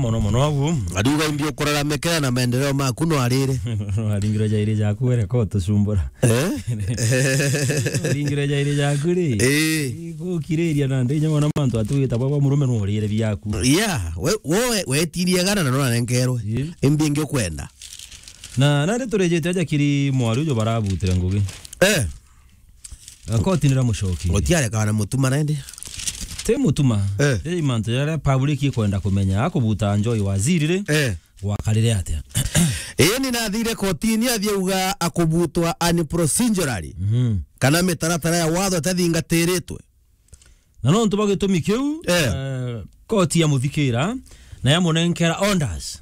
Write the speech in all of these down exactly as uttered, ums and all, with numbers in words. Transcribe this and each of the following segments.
Mono mono abu. Ariuga imbi ukuraramikira na maendeleo maku no arire. Aringire jairi jaku were ko tucumbura. Eh? Aringire jairi jaku ri. Eh. Gukiriria na ndinya mwana mantu atuwita baba murume no urire biaku. Yeah, we, we, we, wetirie gana na no arengerwe. Eh. Imbi ingi ukwenda. Na, na nandi turejete aja kiri mwaru jo barabutire ngugi. Eh. Akoti nira mucoki. Otiarekaga na mutuma nandi. Ti mutuma. Eh. Ti mantu jaria public ikwenda kumenya. Akubuta Njoi waziri ri. Eh. Gwakarire atia? Ii ni nathire kotini athiauga akubutwa unprocedurally. Mhm. Kana mitaratara ya watho itathingatiritwe. Na nontu bwa gitumi kiu, eh, eh, koti yamuthikira na yamunenkera orders.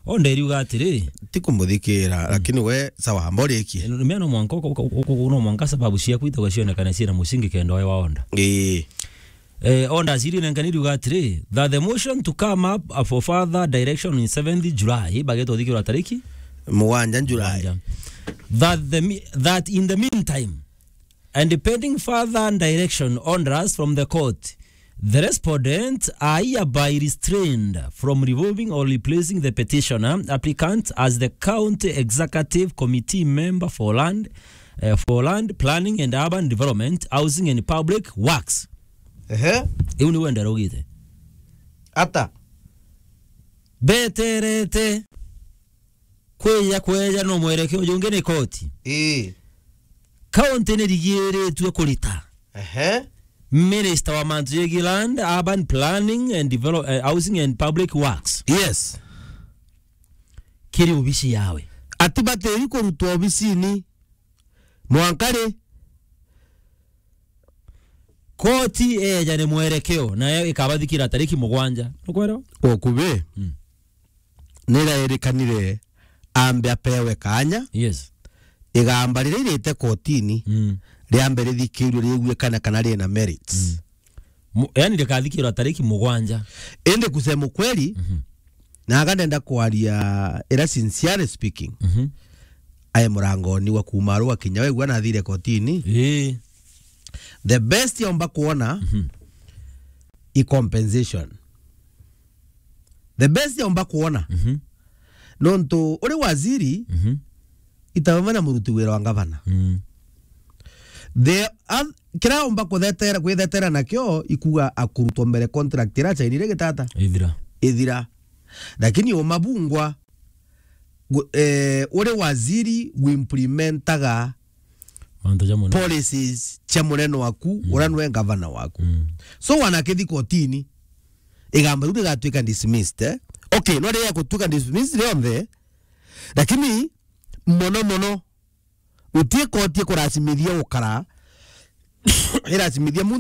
Order iriuga atiri, ti kumuthikira, mm, lakini we, sawa, mborikie. Eh, mea no mwanka uka-, uka-, uka-, no mwanka sababu ciaku itagwa cionekane ciina mucingi kenda oe wa order. Ii. Eh, orders iri nenkani iriuga atiri, that the motion to come up, uh, for further direction in seventh July, bagetwa thikirwa tariki? Mugwanja July. Mugwanja. That the me-, that in the meantime, and pending further direction orders from the court, the respondents are hereby restrained from removing or replacing the petitioner applicant as the County Executive Committee member for land, eh, for land, planning and urban development, housing and public works. Ehe. Iu ni wenda rugite. Ata? Beterete. Kwija kweja no mwerekeo jungi ni koti. Ii. County ni rigiritue kurita. Ehe. Minister wa mantu jegii land, urban planning and develop-, eh, housing and public works. Yes. Kiri obici yawe. Ati batiri kurutwa obicini. Mwanka ri? Koti eja ni mwerekeo, nayo ikabathikira tariki mugwanja. Nukwelewa? Okubi. Mm. Nirairikanire ambe apewe kanya. Yes. Igamba riria irite kotini, mm, riambe rithikirwe riguikane kana rina merits. Mm. Mu-, yani rikathikirwa tariki mugwanja. Indi kusema ukweli, mhm, na aga ndenda kwaria ira sincerely speaking, mhm, ae murangoni wa kuma Arua kinya wegua nathire kotini. Ii. The best yaumba kuona, mhm, i compensation. The best yaumba kuona. Mhm. Nontu uri waziri, mhm, itawe na muruti wira wa ngavana. Mm. The oth-, kira umba kuthetera, kwithetera nakio ikuga akurutwa mbere contract ira chainire gitata. Ithira. Ithira. Lakini umabungwa gu-, eh, uri waziri guimplementaga mantu ja munene, policies cia munene waku, mm, uria nwe ngavana waku. Mm. So wanakithi kotini, igamba riu rigatwika dismissed, eh? Okay, no riria gutwika dismissed rionthe, lakini mono mono, utie koti kuracimithia gukara, iracimithia muntu